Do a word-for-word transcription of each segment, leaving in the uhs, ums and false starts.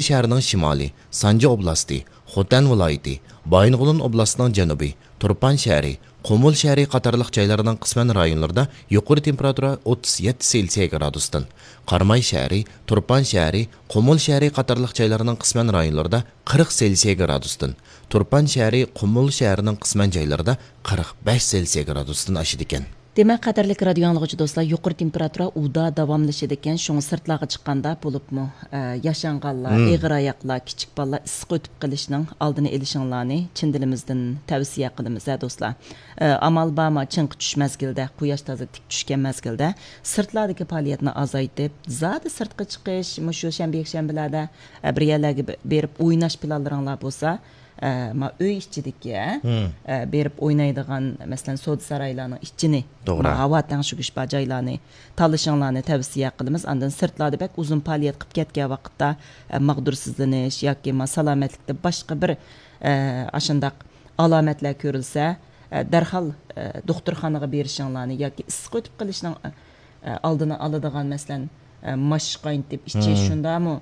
شەھىرىنىڭ شىمالى، سانجى ئوبلاستى، خوتەن ۋىلايىتى، بايىنغولىن ئوبلاستىنىڭ جەنۇبى، تۇرپان شەھىرى، قۇمۇل شەھىرى قاتارلىق جايلارنىڭ قىسمەن رايونلىرىدا يۇقىرى تېمپېراتۇرا ئوتتۇز يەتتە سېلسىيە گرادۇستىن، قاراماي شەھىرى، تۇرپان شەھىرى، قۇمۇل شەھىرى قاتارلىق جايلارنىڭ قىسمەن رايونلىرىدا قىرىق سېلسىيە گرادۇستىن، تۇرپان شەھىرى، قۇمۇل شەھىرىنىڭ قىسمەن جايلىرىدا قىرىق بەش سېلسىيە گرادۇستىن ئاشىدىكەن. دېمەك، قەدىرلىك رادىيو ئاڭلىغۇچى دوستلار، يۇقىرى تېمپېراتۇرا ئۇدا داۋاملىشىدىكەن، شۇڭا سىرتلارغا چىققاندا، بولۇپمۇ، ئە، ياشانغانلار، مم. ئېغىر ئاياقلار، كىچىك بالىلار ئىسسىق ئۆتۈپ قېلىشنىڭ ئالدىنى ئېلىشىڭلارنى چىن دىلىمىزدىن تەۋسىيە قىلىمىز، ھە، دوستلار. ئە، ئامال بارمۇ، چىڭقى چۈش مەزگىلدە، قۇياش تازا تىك چۈشكەن مەزگىلدە سىرتلاردىكى پائالىيەتنى ئازايتىپ، زادى سىرتقا چىقىش، مۇشۇ شەنبە، يەكشەنبىلەردە، ئە، بىر يەرلەرگە بېرىپ ئويناش پىلانلىرىڭلار بولسا، ئە، ما ئۆي ئىچىدىكى، مم. ئە، بېرىپ ئوينايدىغان، مەسىلەن، سودا سارايلارنىڭ ئىچىنى، توغرا. ما ھاۋا تەڭشىگۈچ بار جايلارنى تاللىشىڭلارنى تەۋسىيە قىلىمىز. ئاندىن سىرتلاردا بەك ئۇزۇن پائالىيەت قىلىپ كەتكەن ۋاقىتتا، ئە، ماغدۇرسىزلىنىش ياكى ما سالامەتلىكتە باشقا بىر، ئە، ئاشۇنداق ئالامەتلەر كۆرۈلسە، ئە، دەرھال، ئە، دوختۇرخانىغا بېرىشىڭلارنى ياكى ئىسسىق ئۆتۈپ قېلىشنىڭ، ئە، ئە، ئالدىنى ئالىدىغان، مەسىلەن، ئە، ماش قاينىتىپ ئىچىش، مم. شۇنداقمۇ،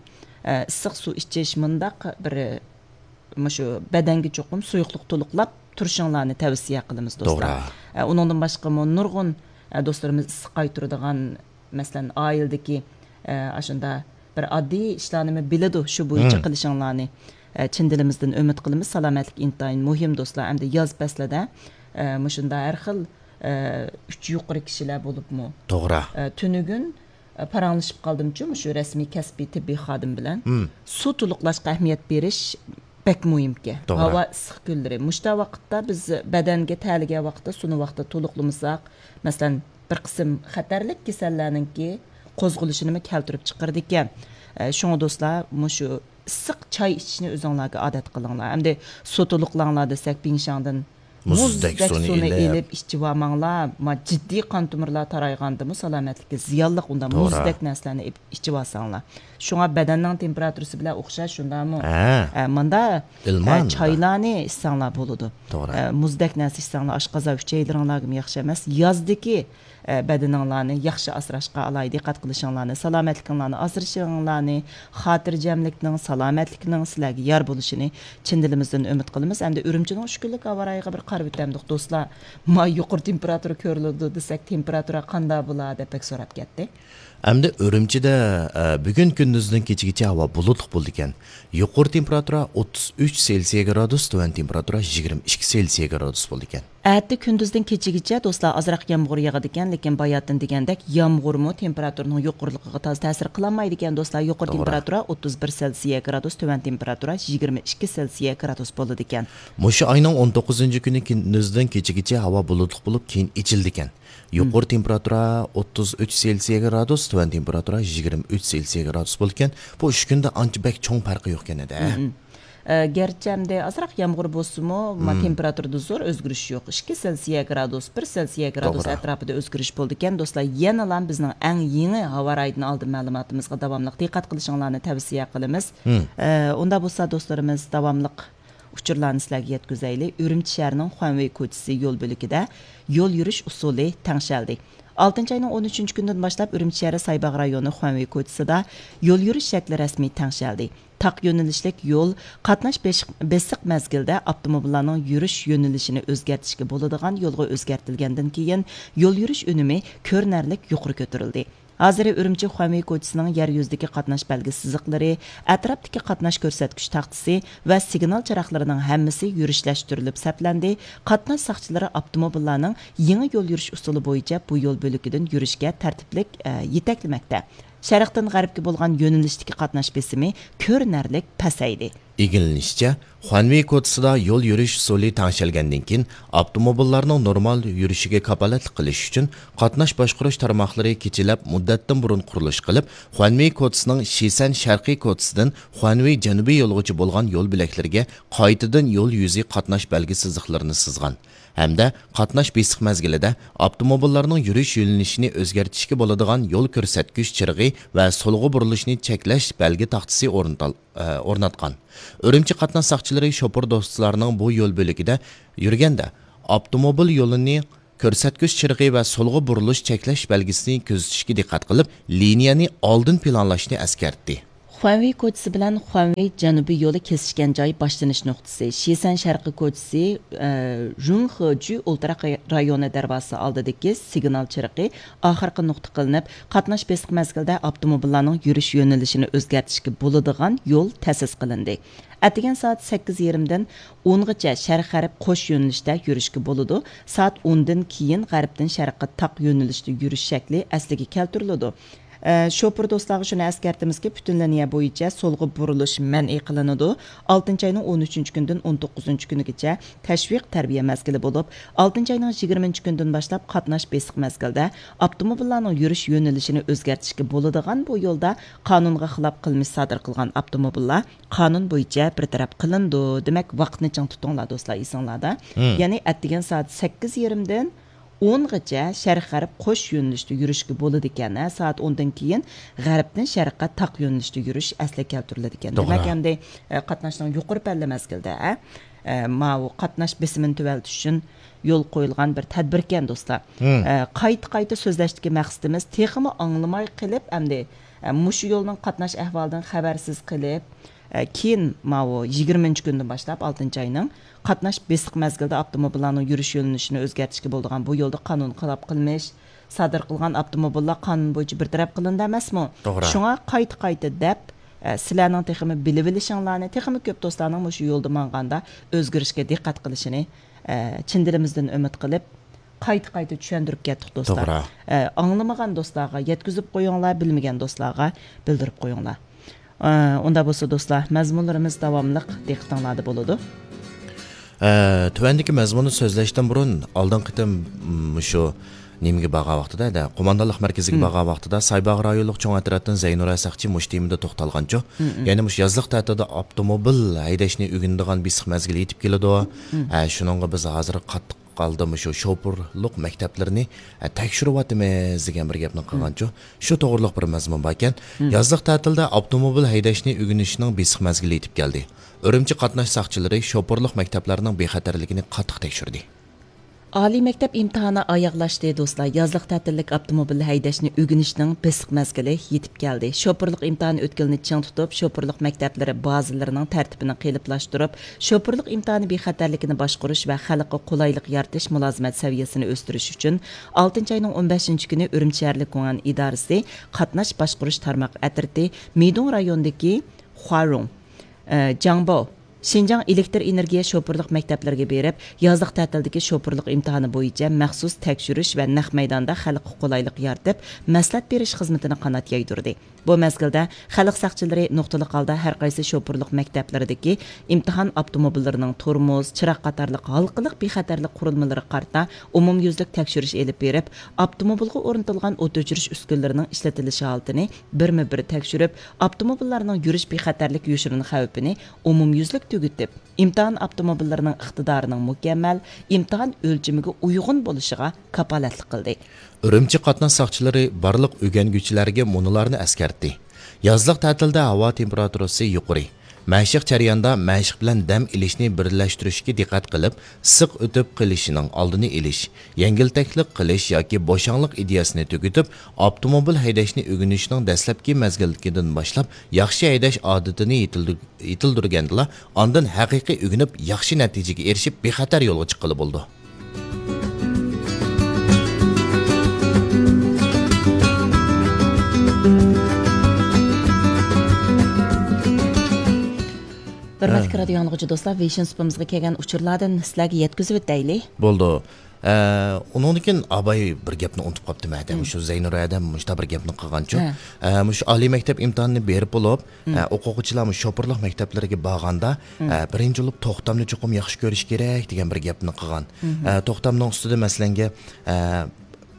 ئە، ئىسسىق سۇ ئىچىش، مۇنداق بىر مۇشۇ بەدەنگە چوقۇم سۇيۇقلۇق تولۇقلاپ تۇرۇشۇڭلارنى تەۋسىيە قىلىمىز، دوستلار. توغرا. ئە، ئۇنىڭدىن باشقىمۇ نۇرغۇن، ئە، دوستلىرىمىز ئىسسىق قايتۇرىدىغان، مەسىلەن، ئائىلىدىكى، ئە، ئاشۇنداق بىر ئاددىي ئىشلارنىمۇ بىلىدۇ، شۇ بويىچە مم. قىلىشىڭلارنى، ئە، چىن دىلىمىزدىن ئۈمىد قىلىمىز. سالامەتلىك ئىنتايىن مۇھىم، دوستلار. ئەمدى ياز پەسلىدە، ئە، مۇشۇنداق ھەر خىل، ئە، ئۈچ يۇقىرى كىشىلەر بولۇپمۇ، توغرا. ئە، تۈنۈگۈن پاراڭلىشىپ قالدىمچۇ، مۇشۇ رەسمىي كەسپىي تېببىي خادىم بىلەن. مم. سۇ تولۇقلاشقا ئەھمىيەت بېرىش بەك مۇھىمكەن. توغرا. ھاۋا ئىسسىق كۈنلىرى. مۇشۇنداق ۋاقىتتا بىز بەدەنگە تەلىگەن ۋاقىتتا سۇنى ۋاقتىدا تولۇقلىمىساق، مەسىلەن، بىر قىسىم خەتەرلىك كېسەللەرنىڭكى قوزغىلىشىنىمۇ كەلتۈرۈپ چىقىرىدىكەن. ئە، شۇڭا دوستلار، مۇشۇ ئىسسىق چاي ئىچىشنى ئۆزۈڭلارگە ئادەت قىلىڭلار. ئەمدى سۇ تولۇقلاڭلار دېسەك، بىڭشاڭدىن مۇزدەك مۇزدەك سۇنى سۇنى ئېلىپ. ئېلىپ ئىچىۋالماڭلار. ما، جىددىي قان تومۇرلار تارايغاندىمۇ سالامەتلىككە زىيانلىق ئۇنداق توغرا. مۇزدەك نەرسىلەرنى ئېلىپ ئىچىۋالساڭلار. شۇڭا بەدەننىڭ تېمپېراتۇرىسى بىلەن ئوخشاش شۇنداقمۇ؟ ھە. ئە، مۇندا، ئىلمان ئە، ئۇندا. چايلارنى ئىچسەڭلار بولىدۇ. توغرا. ئە، مۇزدەك نەرسە ئىچسەڭلار ئاشقازان ئۈچەيلىرىڭلارغىمۇ ياخشى ئەمەس. يازدىكى ئە، بەدىنىڭلارنى ياخشى ئاسراشقا ئالاھىدە دىققەت قىلىشىڭلارنى، سالامەتلىكىڭلارنى، ئاسرىشىڭلارنى، خاتىرجەملىكنىڭ، سالامەتلىكنىڭ سىلەرگە يار بولۇشىنى چىن دىلىمىزدىن ئۈمىد قىلىمىز. ئەمدى ئۈرۈمچىنىڭ ئۈچ كۈنلۈك ھاۋا رايىغا بىر قاراپ ئۆتەمدۇق، دوستلار. ما يۇقىرى تېمپېراتۇرا كۆرۈلىدۇ دېسەك، تېمپېراتۇرا قانداق بولا دەپ بەك سوراپ كەتتى. ئەمدى ئۈرۈمچىدە، ئە، بۈگۈن كۈندۈزدىن كېچىگىچە ھاۋا بۇلۇتلۇق بولىدىكەن. يۇقىرى تېمپېراتۇرا ئوتتۇز ئۈچ سېلسىيە گرادۇس، تۆۋەن تېمپېراتۇرا يىگىرمە ئىككى سېلسىيە گرادۇس بولىدىكەن. ئەتە كۈندۈزدىن كېچىگىچە، دوستلار، ئازراق يامغۇر ياغىدىكەن، لېكىن باياتىن دېگەندەك يامغۇرمۇ تېمپېراتۇرىنىڭ يۇقىرىلىقىغا تازا تەسىر قىلالمايدىكەن، دوستلار. يۇقىرى توغرا. تېمپېراتۇرا ئوتتۇز بىر سېلسىيە گرادۇس، تۆۋەن تېمپېراتۇرا يىگىرمە ئىككى سېلسىيە گرادۇس بولىدىكەن. مۇشۇ ئاينىڭ ئون توققۇزىنچى كۈنى كۈندۈزدىن كېچىگىچە ھاۋا بۇلۇتلۇق بولۇپ، كېيىن ئېچىلىدىكەن. يۇقىرى تېمپېراتۇرا ئوتتۇز ئۈچ سېلسىيە گرادۇس، تۆۋەن تېمپېراتۇرا يىگىرمە ئۈچ سېلسىيە گرادۇس بولىدىكەن. بۇ ئۈچ كۈندە ئانچە بەك چوڭ پەرقى يوقكەن ئىدى، ھە؟ ئە، گەرچە ئەمدى ئازراق يامغۇر بولسىمۇ، ما، تېمپېراتۇرىدا زور ئۆزگىرىش يوق. ئىككى سېلسىيە گرادۇس، بىر سېلسىيە گرادۇس توغرا. ئەتراپىدا ئۆزگىرىش بولىدىكەن. دوستلار، يەنىلا بىزنىڭ ئەڭ يېڭى ھاۋا رايىدىن ئالدىن مەلۇماتىمىزغا داۋاملىق دىققەت قىلىشىڭلارنى تەۋسىيە قىلىمىز. ئە، ئۇنداق بولسا، دوستلىرىمىز، داۋاملىق ئۇچۇرلارنى سىلەرگە يەتكۈزەيلى. ئۈرۈمچى شەھىرىنىڭ خۇەنۋېي كوچىسى يول بۆلىكىدە يول يۈرۈش ئۇسۇلى تەڭشەلدى. ئالتىنچى ئاينىڭ ئون ئۈچىنچى كۈنىدىن باشلاپ ئۈرۈمچى شەھىرى سايباغ رايونى خۇەنۋېي كوچىسىدا يول يۈرۈش شەكلى رەسمىي تەڭشەلدى. تاق يۆنىلىشلىك يول قاتناش بېشىق-، بېسىق مەزگىلدە ئاپتوموبىللارنىڭ يۈرۈش يۆنىلىشىنى ئۆزگەرتىشكە بولىدىغان يولغا ئۆزگەرتىلگەندىن كېيىن، يول يۈرۈش ئۈنۈمى كۆرۈنەرلىك يۇقىرى كۆتۈرۈلدى. ھازىر ئۈرۈمچى خۇەنۋېي كوچىسىنىڭ يەر يۈزىدىكى قاتناش بەلگە سىزىقلىرى، ئەتراپتىكى قاتناش كۆرسەتكۈچ تاختىسى ۋە سىگنال چىراغلىرىنىڭ ھەممىسى يۈرۈشلەشتۈرۈلۈپ سەپلەندى. قاتناش ساقچىلىرى ئاپتوموبىللارنىڭ يېڭى يول يۈرۈش ئۇسۇلى بويىچە بۇ يول بۆلىكىدىن يۈرۈشكە تەرتىپلىك، ئە، يېتەكلىمەكتە. شەرقتىن غەربكە بولغان يۆنىلىشتىكى قاتناش بېسىمى كۆرۈنەرلىك پەسەيدى. ئىگىلىنىشىچە، خۇەنۋېي كوچىسىدا يول يۈرۈش ئۇسۇلى تەڭشەلگەندىن كېيىن، ئاپتوموبىللارنىڭ نورمال يۈرۈشىگە كاپالەتلىك قىلىش ئۈچۈن، قاتناش باشقۇرۇش تارماقلىرى كېچىلەپ مۇددەتتىن بۇرۇن قۇرۇلۇش قىلىپ، خۇەنۋېي كوچىسىنىڭ شىسەن شەرقىي كوچىسىدىن خۇەنۋېي جەنۇبىي يولىغىچە بولغان يول بۆلەكلىرىگە قايتىدىن يول يۈزى قاتناش بەلگە سىزىقلىرىنى سىزغان ھەمدە قاتناش بېسىق مەزگىلىدە ئاپتوموبىللارنىڭ يۈرۈش يۆنىلىشىنى ئۆزگەرتىشكە بولىدىغان يول كۆرسەتكۈچ چىرىغى ۋە سولغا بۇرۇلۇشنى چەكلەش بەلگە تاختىسى ئورنىتال-، ئە، ئورناتقان. ئۈرۈمچى قاتناش ساقچىلىرى شوپۇر دوستلارنىڭ بۇ يول بۆلىكىدە يۈرگەندە، ئاپتوموبىل يولىنى كۆرسەتكۈچ چىرىغى ۋە سولغا بۇرۇلۇش چەكلەش بەلگىسىنى كۆزىتىشكە دىققەت قىلىپ، لىنىيەنى ئالدىن پىلانلاشنى ئەسكەرتتى. خۇەنۋېي كوچىسى بىلەن خۇەنۋېي جەنۇبىي يولى كېسىشكەن جاي باشلىنىش نۇقتىسى، شىسەن شەرقىي كوچىسى، ئە، رۇڭخېجۈ ئولتۇراق رايونى دەرۋازىسى ئالدىدىكى سىگنال چىرىقى ئاخىرقى نۇقتا قىلىنىپ، قاتناش بېسىق مەزگىلدە ئاپتوموبىللارنىڭ يۈرۈش يۆنىلىشىنى ئۆزگەرتىشكە بولىدىغان يول تەسىس قىلىندى. ئەتىگەن سائەت سەككىز يېرىمدىن ئونغىچە شەرق غەرب قوش يۆنىلىشتە يۈرۈشكە بولىدۇ. سائەت ئوندىن كېيىن غەربتىن شەرققە تاق يۆنىلىشتە يۈرۈش شەكلى ئەسلىگە كەلتۈرۈلىدۇ. ئە، شوپۇر دوستلارغا شۇنى ئەسكەرتىمىزكى، پۈتۈن لىنىيە بويىچە سولغا بۇرۇلۇش مەنئى قىلىنىدۇ. ئالتىنچى ئاينىڭ ئون ئۈچىنچى كۈنىدىن ئون توققۇزىنچى كۈنىگىچە تەشۋىق تەربىيە مەزگىلى بولۇپ، ئالتىنچى ئاينىڭ يىگىرمىنچى كۈنىدىن باشلاپ قاتناش بېسىق مەزگىلدە ئاپتوموبىللارنىڭ يۈرۈش يۆنىلىشىنى ئۆزگەرتىشكە بولىدىغان بۇ يولدا قانۇنغا خىلاپ قىلمىش سادىر قىلغان ئاپتوموبىللار قانۇن بويىچە بىر تەرەپ قىلىنىدۇ. دېمەك، ۋاقىتنى چىڭ تۇتۇڭلار دوستلار، ئېسىڭلاردا. مم. يەنى ئەتىگەن سائەت سەككىز يېرىمدىن ئونغىچە شەرق غەرب قوش يۆنىلىشتە يۈرۈشكە بولىدىكەن. ھە، سائەت ئوندىن كېيىن غەربتىن شەرققە تاق يۆنىلىشتە يۈرۈش ئەسلىگە كەلتۈرۈلىدىكەن. توغرا. دېمەك، ئەمدى، ئە، قاتناشنىڭ يۇقىرى پەللە مەزگىلدە، ئە، ئە، ماۋۇ قاتناش بېسىمىنى تۆۋەنلىتىش ئۈچۈن يول قويۇلغان بىر تەدبىركەن، دوستلار. مم. ئە، قايتا-قايتا سۆزلەشتىكى مەقسىتىمىز تېخىمۇ ئاڭلىماي قېلىپ، ئەمدى، ئە، مۇشۇ يولنىڭ قاتناش ئەھۋالىدىن خەۋەرسىز قېلىپ، ئە، كېيىن ماۋۇ يىگىرمىنچى كۈندىن باشلاپ، ئالتىنچى ئاينىڭ قاتناش بېسىق مەزگىلدە ئاپتوموبىللارنىڭ يۈرۈش يۆنىلىشىنى ئۆزگەرتىشكە بولىدىغان بۇ يولدا قانۇنغا خىلاپ قىلمىش سادىر قىلغان ئاپتوموبىللار قانۇن بويىچە بىر تەرەپ قىلىنىدۇ ئەمەسمۇ؟ توغرا. شۇڭا قايتا-قايتا دەپ، ئە، سىلەرنىڭ تېخىمۇ بىلىۋېلىشىڭلارنى، تېخىمۇ كۆپ دوستلارنىڭ مۇشۇ يولدا ماڭغاندا ئۆزگىرىشكە دىققەت قىلىشىنى، ئە، چىن دىلىمىزدىن ئۈمىد قىلىپ، قايتا-قايتا چۈشەندۈرۈپ كەتتۇق، دوستلار. توغرا. ئە، ئاڭلىمىغان دوستلارغا يەتكۈزۈپ قويۇڭلار، بىلمىگەن دوستلارغا بىلدۈرۈپ قويۇڭلار. ئە، ئۇنداق بولسا، دوستلار، مەزمۇنلىرىمىز داۋاملىق دىققىتىڭلاردا بولىدۇ. ئە، تۆۋەندىكى مەزمۇننى سۆزلەشتىن بۇرۇن، ئالدىنقى قېتىم، م، مۇشۇ نېمىگە بارغان ۋاقتىدا، دە، قوماندانلىق مەركىزىگە مم. بارغان ۋاقتىدا، سايباغ رايونلۇق چوڭ ئەترەتتىن زەينۇرە ساقچى مۇشۇ تېمىدا توختالغانچۇ. مم، مم. يەنى مۇشۇ يازلىق تەتىلدە ئاپتوموبىل ھەيدەشنى ئۆگىنىدىغان بېسىق مەزگىل يېتىپ كېلىدۇ. مم. ئە، شۇنىڭغا بىز ھازىر قاتتىق ھالدا مۇشۇ شوپۇرلۇق مەكتەپلىرىنى، ئە، تەكشۈرۈۋاتىمىز دېگەن بىر گەپنى قىلغانچۇ. شۇ توغرىلىق بىر مەزمۇن باركەن. مم. يازلىق تەتىلدە ئاپتوموبىل ھەيدەشنى ئۆگىنىشنىڭ بېسىق مەزگىلى يېتىپ كەلدى. ئۈرۈمچى قاتناش ساقچىلىرى شوپۇرلۇق مەكتەپلەرنىڭ بىخەتەرلىكىنى قاتتىق تەكشۈردى. ئالىي مەكتەپ ئىمتىھانى ئاياغلاشتى، دوستلار. يازلىق تەتىللىك ئاپتوموبىل ھەيدەشنى ئۆگىنىشنىڭ بېسىق مەزگىلى يېتىپ كەلدى. شوپۇرلۇق ئىمتىھانى ئۆتكىلىنى چىڭ تۇتۇپ، شوپۇرلۇق مەكتەپلىرى بازىلىرىنىڭ تەرتىپىنى قېلىپلاشتۇرۇپ، شوپۇرلۇق ئىمتىھانى بىخەتەرلىكىنى باشقۇرۇش ۋە خەلققە قولايلىق يارىتىش مۇلازىمەت سەۋىيەسىنى ئۆستۈرۈش ئۈچۈن، ئالتىنچى ئاينىڭ ئون بەشىنچى كۈنى ئۈرۈمچى شەھەرلىك گۇڭئەن ئىدارىسى قاتناش باشقۇرۇش تارماق ئەترىتى مىدۇڭ رايونىدىكى خۇارۇڭ، ئە، جاڭباۋ، شىنجاڭ ئېلېكتىر ئېنېرگىيە شوپۇرلۇق مەكتەپلىرىگە بېرىپ، يازلىق تەتىلدىكى شوپۇرلۇق ئىمتىھانى بويىچە مەخسۇس تەكشۈرۈش ۋە نەق مەيداندا خەلققە قولايلىق يارىتىپ، مەسلىھەت بېرىش خىزمىتىنى قانات يايدۇردى. بۇ مەزگىلدە خەلق ساقچىلىرى نۇقتىلىق ھالدا ھەر قايسى شوپۇرلۇق مەكتەپلىرىدىكى ئىمتىھان ئاپتوموبىللىرىنىڭ تورمۇز، چىراغ قاتارلىق ھالقىلىق بىخەتەرلىك قۇرۇلمىلىرىغا قارىتا ئومۇميۈزلۈك تەكشۈرۈش ئېلىپ بېرىپ، ئاپتوموبىلغا ئورنىتىلغان ئوت ئۆچۈرۈش ئۈسكۈنىلىرىنىڭ ئىشلىتىلىش ھالىتىنى بىرمۇ بىر تەكشۈرۈپ، ئاپتوموبىللارنىڭ يۈرۈش بىخەتەرلىك يوشۇرۇن خەۋپىنى ئومۇميۈزلۈك تۈگىتىپ، ئىمتىھان ئاپتوموبىللىرىنىڭ ئىقتىدارىنىڭ مۇكەممەل، ئىمتىھان ئۆلچىمىگە ئۇيغۇن بولۇشىغا كاپالەتلىك قىلدى. ئۈرۈمچى قاتناش ساقچىلىرى بارلىق ئۆگەنگۈچىلەرگە مۇنۇلارنى ئەسكەرتتى: يازلىق تەتىلدە ھاۋا تېمپېراتۇرىسى يۇقىرى. مەشىق جەريانىدا مەشىق بىلەن دەم ئېلىشنى بىرلەشتۈرۈشكە دىققەت قىلىپ، ئىسسىق ئۆتۈپ قېلىشىنىڭ ئالدىنى ئېلىش، يەڭگىلتەكلىك قىلىش ياكى بوشاڭلىق ئىدىيەسىنى تۈگىتىپ، ئاپتوموبىل ھەيدەشنى ئۆگىنىشنىڭ دەسلەپكى مەزگىلدىكىدىن باشلاپ ياخشى ھەيدەش ئادىتىنى يېتىلدۈر-، يېتىلدۈرگەندىلا، ئاندىن ھەقىقىي ئۆگىنىپ، ياخشى نەتىجىگە ئېرىشىپ، بىخەتەر يولغا چىققىلى بولىدۇ. ھۆرمەتلىك ھە. رادىيو ئاڭلىغۇچى دوستلار، ۋېيشىن سۇپىمىزغا كەلگەن ئۇچۇرلاردىن سىلەرگە يەتكۈزۈۋېتەيلى. بولدى. ئە، ئۇنىڭدىن كېيىن ئاباي بىر گەپنى ئۇنتۇپ قاپتىمەن. مم. مۇشۇ زەينۇر ھەدەم مۇشۇنداق بىر گەپنى قىلغانچۇ. ھە. ئە، مۇشۇ ئالىي مەكتەپ ئىمتىھانىنى بېرىپ بولۇپ، مم. ئە، ئوقۇغۇچىلار مۇشۇ شوپۇرلۇق مەكتەپلىرىگە بارغاندا، مم. ئە، بىرىنچى بولۇپ توختامنى چوقۇم ياخشى كۆرۈش كېرەك دېگەن بىر گەپنى قىلغان. مم. ئە، توختامنىڭ ئۈستىدە مەسىلەنگە، ئە،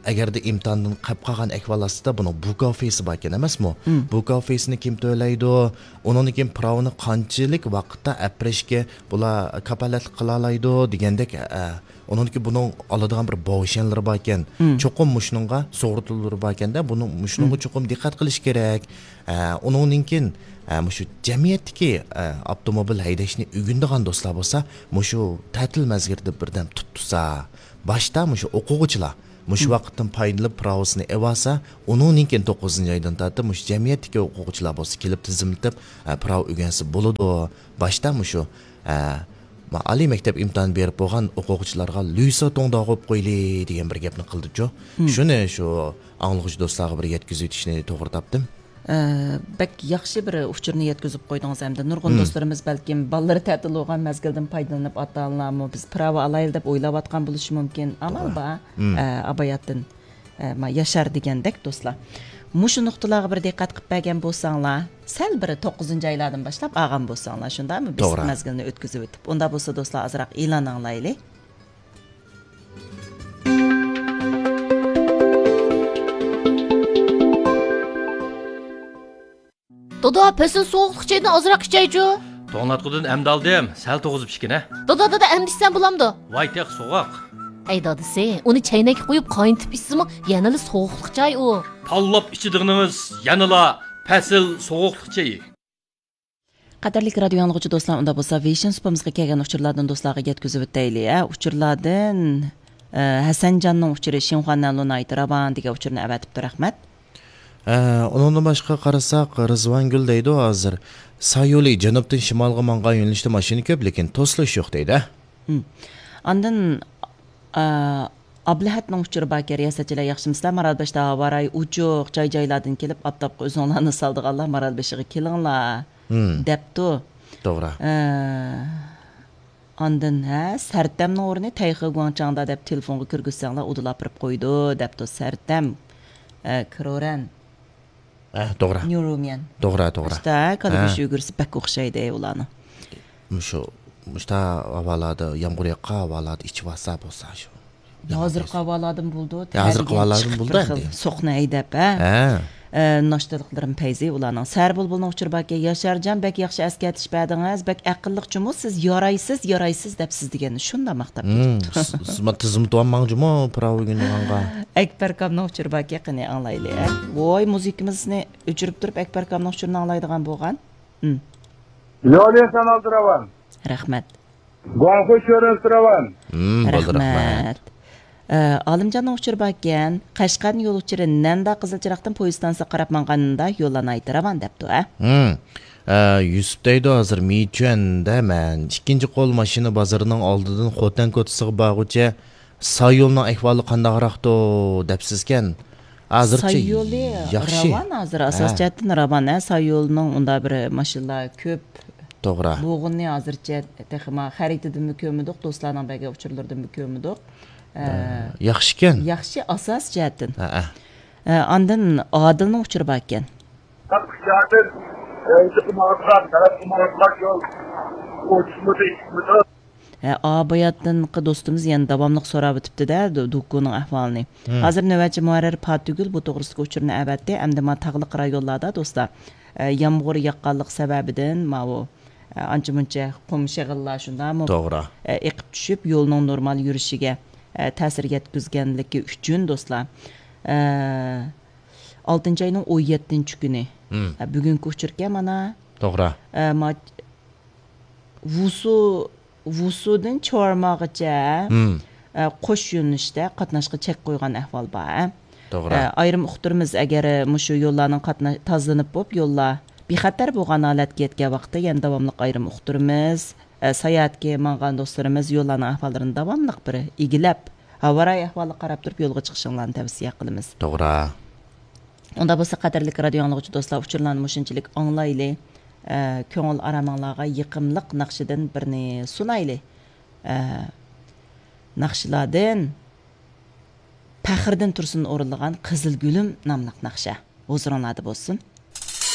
ئەگەردە ئىمتىھاندىن قېلىپ قالغان ئەھۋال ئاستىدا بۇنىڭ بۇكاۋ فېيسى باركەن ئەمەسمۇ؟ مم. بۇكاۋ فېيسىنى كىم تۆلەيدۇ؟ ئۇنىڭدىن كېيىن پىراۋىنى قانچىلىك ۋاقىتتا ئەپىرىشكە بۇلار كاپالەتلىك قىلالايدۇ دېگەندەك، ئە، ئۇنىڭدىكى بۇنىڭ ئالىدىغان بىر باۋشيەنلىرى باركەن. مم. چوقۇم مۇشۇنىڭغا سۇغۇرتىلىرى باركەندە، بۇنىڭ، مۇشۇنىڭغا مم. چوقۇم دىققەت قىلىش كېرەك. ئە، ئۇنىڭدىن كېيىن، ئە، مۇشۇ جەمئىيەتتىكى، ئە، ئاپتوموبىل ھەيدەشنى ئۆگىنىدىغان دوستلار بولسا، مۇشۇ تەتىل مەزگىلىدە بىردەم تۇتۇسا، باشتا مۇشۇ ئوقۇغۇچىلار، مۇشۇ ۋاقىتتىن پايدىلىنىپ پىراۋىسىنى ئېۋالسا، ئۇنىڭدىن كېيىن توققۇزىنچى ئايدىن تارتىپ مۇشۇ جەمئىيەتتىكى ئوقۇغۇچىلار بولسا كېلىپ تىزىملىتىپ، ئە، پىراۋا ئۆگەنسە بولىدۇ. باشتا مۇشۇ، ئە، ما-، ئالىي مەكتەپ ئىمتىھانى بېرىپ بولغان ئوقۇغۇچىلارغا لۈيسا توڭداغۇپ قويلى دېگەن بىر گەپنى قىلدىچۇ. شۇنى شۇ ئاڭلىغۇچى دوستلارغا بىر يەتكۈزۈۋېتىشنى توغرا تاپتىم. ئە، بەك ياخشى بىر ئۇچۇرنى يەتكۈزۈپ قويدىڭىز ھەمدە نۇرغۇن دوستلىرىمىز بەلكىم بالىلىرى تەتىل بولغان مەزگىلدىن پايدىلىنىپ، ئاتا-ئانىلارمۇ بىز پىراۋا ئالايلى دەپ ئويلاۋاتقان بولۇشى مۇمكىن. ئامال بار، ئە، ئاباياتتىن، ئە، ما-، ياشار دېگەندەك دوستلار. مۇشۇ نۇقتىلارغا بىر دىققەت قىلىپ بەرگەن بولساڭلار، سەل بىر توققۇزىنچى ئايلاردىن باشلاپ ئالغان بولساڭلار، شۇنداقمۇ؟ بىز مەزگىلنى ئۆتكۈزۈۋېتىپ. ئۇنداق بولسا دوستلار، ئازراق ئېلان ئاڭلايلى. دادا، پەسىل سوغۇقلۇق چايدىن ئازراق ئىچەيچۇ. توڭلاتقۇدىن ئەمدى ئالدىم، سەل توغۇزۇپ ئىچكىنە. دادا، دادا، ئەمدى ئىچسەم بولامدۇ؟ ۋاي تېخى سوغۇق. ئەي دادىسى، ئۇنى چەينەككە قۇيۇپ قاينىتىپ ئىچسىمۇ يەنىلا سوغۇقلۇق چاي ئۇ. تاللاپ ئىچىدىغىنىڭىز يەنىلا پەسىل سوغۇقلۇق چېيى. قەدىرلىك رادىيو ئاڭلىغۇچى دوستلار، ئۇنداق بولسا ۋېيشىن سۇپىمىزغا كەلگەن ئۇچۇرلاردىن دوستلارغا يەتكۈزۈپ ئۆتەيلى، ھە. ئۇچۇرلاردىن، ئە، ھەسەنجاننىڭ ئۇچۇرى، شىنخۇا نەنلۇ ناھايىتى راۋان دېگەن ئۇچۇرنى ئەۋەتىپتۇ، رەھمەت. ئە، ئۇنىڭدىن باشقا قارىساق، رىزۋانگۈل دەيدۇ ھازىر، سايولى جەنۇبتىن شىمالغا ماڭغان يۆنىلىشتە ماشىنا كۆپ، لېكىن توسۇلۇش يوق دەيدۇ. ھىم. ئاندىن، ئە، ئابلىھەتنىڭ ئۇچۇرى باركەن، رىياسەتچىلەر ياخشىمۇسىلەر؟ مارالبەشتە ھاۋا رايى ئوچۇق، جاي-جايلاردىن كېلىپ، ئاپتاپقا ئۆزۈڭلارنى سالىدىغانلار مارالبېشىغا كېلىڭلار، ھىم. دەپتۇ. توغرا. ئە، ئاندىن، ھە، سەرتەمنىڭ ئورنى تەيخې گۇاڭچاڭدا دەپ تېلېفونغا كىرگۈزسەڭلار، ئۇدۇل ئاپىرىپ قويىدۇ، دەپتۇ سەرتەم. ئە، كرورەن. ئە، توغرا. نيۇروميەن. توغرا، توغرا. ئىشتا، كالا ھە. گۆشى ئۈگرىسى بەك ئوخشايدۇ ئۇلارنىڭ. مۇشۇ، مۇشتا ھاۋالاردا، يامغۇر ياغقان ھاۋالاردا ئىچىۋالسا بولسا شۇ. ھازىرقى ھاۋالاردىن بولىدۇ. يا، ھازىرقى تەرگەن ھاۋالاردىن چىقىپ بولىدۇ بىر خىل ئەمدى. سوقنى ھەيدەپ، ھە؟ ھە. ئە، ناشتىلىقلىرىم پەيزى ئۇلارنىڭ. سەھەر بۇلبۇلنىڭ ئۇچۇرى باركەن، ياشارجان، بەك ياخشى ئەسكەرتىش بەردىڭىز، بەك ئەقىللىقچىمۇ سىز، يارايسىز، يارايسىز دەپ سىز دېگەننى شۇنداق ماختاپ مم، كېتىپتۇ. سىز، سىز ما تىزىملىتىۋالماڭجىمۇ پىراۋا ئۆگىنىدىغانغا. ئەكبەركامنىڭ ئۇچۇرى باركەن، قېنى ئاڭلايلى، ھە؟ ۋوي، مۇزىكىمىزنى ئۆچۈرۈپ تۇرۇپ، ئەكبەركامنىڭ ئۇچۇرىنى ئاڭلايدىغان بولغان. ھىم. يولى سانالدى راۋان. رەھمەت. گۇاڭخۇي چۆرۈنسى راۋان. ھىم، بولدى، رەھمەت. رەھمەت. ئە، ئالىمجاننىڭ ئۇچۇرى باركەن، قەشقەردىن يول ئۇچۇرى نەندا قىزىل چىراغدىن پويىز ئىستانسىسىغا قاراپ ماڭغاندا يوللار ناھايىتى راۋان دەپتۇ، ھە؟ ھىم. ئە، يۈسۈپ دەيدۇ، ھازىر مىچۈەندە مەن ئىككىنچى قول ماشىنا بازىرىنىڭ ئالدىدىن خوتەن كوچىسىغا بارغۇچە سايولنىڭ ئەھۋالى قانداقراقتۇ دەپسىزكەن. ھازىرچە سايولى ياخشى. راۋان ھازىر، ئاساس ھە. جەھەتتىن راۋان، ھە، سايولنىڭ ئۇنداق بىر ماشىنىلار كۆپ توغرا. بولغىنىنى ھازىرچە تېخىمۇ خەرىتىدىنمۇ كۆرمىدۇق، دوستلارنىڭ بەرگەن ئۇچۇرلىرىدىنمۇ كۆرمىدۇق. ئە، ئە، ياخشىكەن. ياخشى، ئاساس جەھەتتىن. ھە، ھە. ئە، ئاندىن ئادىلنىڭ ئۇچۇرى باركەن. ھە، ئاباياتتىنقى دوستىمىز يەنە داۋاملىق سوراۋېتىپتۇ-دە، دۇ-، دۇكۇنىڭ ئەھۋالىنى. ھىم. ھازىر نۆۋەتچى مۇھەررىر پاتىگۈل بۇ توغرىسىدىكى ئۇچۇرنى ئەۋەتتى. ئەمدى ما تاغلىق رايونلاردا، دوستلار، ئە، يامغۇر ياغقانلىقى سەۋەبىدىن ماۋۇ، ئە، ئانچە-مۇنچە قۇم شېغىللار شۇنداقمۇ، توغرا. ئە، ئېقىپ چۈشۈپ، يولنىڭ نورمال يۈرۈشىگە، ئە، تەسىر يەتكۈزگەنلىكى ئۈچۈن، دوستلار، ئە، ئالتىنچى ئاينىڭ ئون يەتتىنچى كۈنى، ھىم. ئە، بۈگۈنكى ئۇچۇركەن مانا. توغرا. ئە، ما-، ۋۇسۇ، ۋۇسۇدىن چورماغىچە، ھىم. ئە، قوش يۆنىلىشتە قاتناشقا چەك قويغان ئەھۋال بار، ھە؟ توغرا. ئە، ئايرىم ئۇقتۇرىمىز، ئەگەر مۇشۇ يوللارنىڭ قاتنا-، تازىلىنىپ بولۇپ، يوللار بىخەتەر بولغان ھالەتكە يەتكەن ۋاقىتتا يەنە داۋاملىق ئايرىم ئۇقتۇرىمىز. ئە، ساياھەتكە ماڭغان دوستلىرىمىز يوللارنىڭ ئەھۋاللىرىنى داۋاملىق بىر ئىگىلەپ، ھاۋا رايى ئەھۋالىغا قاراپ تۇرۇپ يولغا چىقىشىڭلارنى تەۋسىيە قىلىمىز. توغرا. ئۇنداق بولسا، قەدىرلىك رادىيو ئاڭلىغۇچى دوستلار، ئۇچۇرلارنى مۇشۇنچىلىك ئاڭلايلى. ئە، كۆڭۈل ئارامىڭلارغا يېقىملىق ناخشىدىن بىرنى سۇنايلى. ئە، ناخشىلاردىن پەخرىدىن تۇرسۇن ئورۇنلىغان قىزىل گۈلۈم ناملىق ناخشا ھۇزۇرۇڭلاردا بولسۇن.